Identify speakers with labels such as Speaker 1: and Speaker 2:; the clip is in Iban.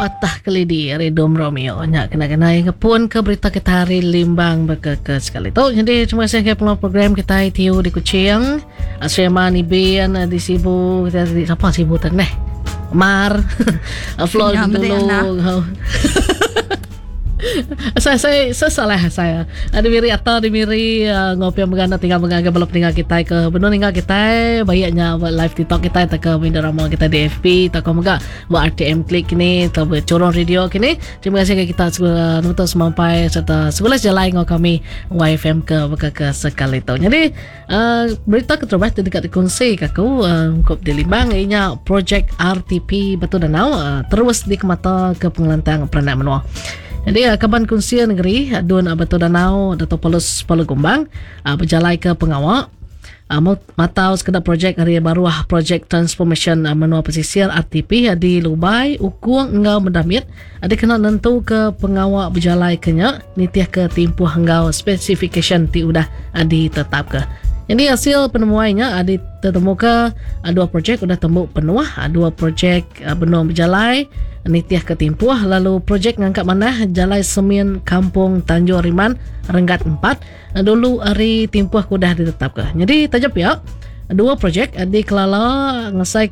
Speaker 1: Patah Kelidi ari Dom Romeo nya kena kenai ngepun ke berita kita hari Limbang baka ke sekali tu. Jadi terima kasih ke pengelola program kita ITU di Kuching, Sriman Ibin di Sibu, kita di siapa Sibu tan neh. Mar Flor dulu. Saya saya saya salah saya. Ada miri atau di miri uh, ngopi yang megana tinggal mengaga bala peninggal kita ke benung ninggal kita baiknya live TikTok kita atau ke media rama kita di FB atau ke mega buat RTM Klik kini atau buat Corong Radio kini. Terima kasih ke kita segala nonton semampai serta segala jalan ngau kami YFM ke beka ke sekali tu. Jadi uh, berita keterubah tu dekat dikongsi ke aku uh, ungkup di Limbang inya projek RTP Batu Danau uh, terus dikemata ke pengelantang peranak menua. Jadi uh, Kaban Kunsil Negeri Dun Batu Danau Dato Paulus Palu Gumbang uh, berjalai ke pengawa uh, matau sekeda projek hari baruah projek Transformation Menua Pesisir RTP di Lubai, Ukung enggau Medamit dikena nentu ke pengawa bejalai ke nya nitih ke timpuh enggau spesifikasyen ti udah ditetapka. Jadi hasil penemuai nya ditemuka dua projek udah tembu penuh, dua projek benung bejalai nitih ke timpuh lalu projek ngangkat manah Jalai Semin Kampung Tanjung Riman renggat 4 dulu ari timpuh ke udah ditetapka. Jadi taja pia dua projek dikelala ngesai.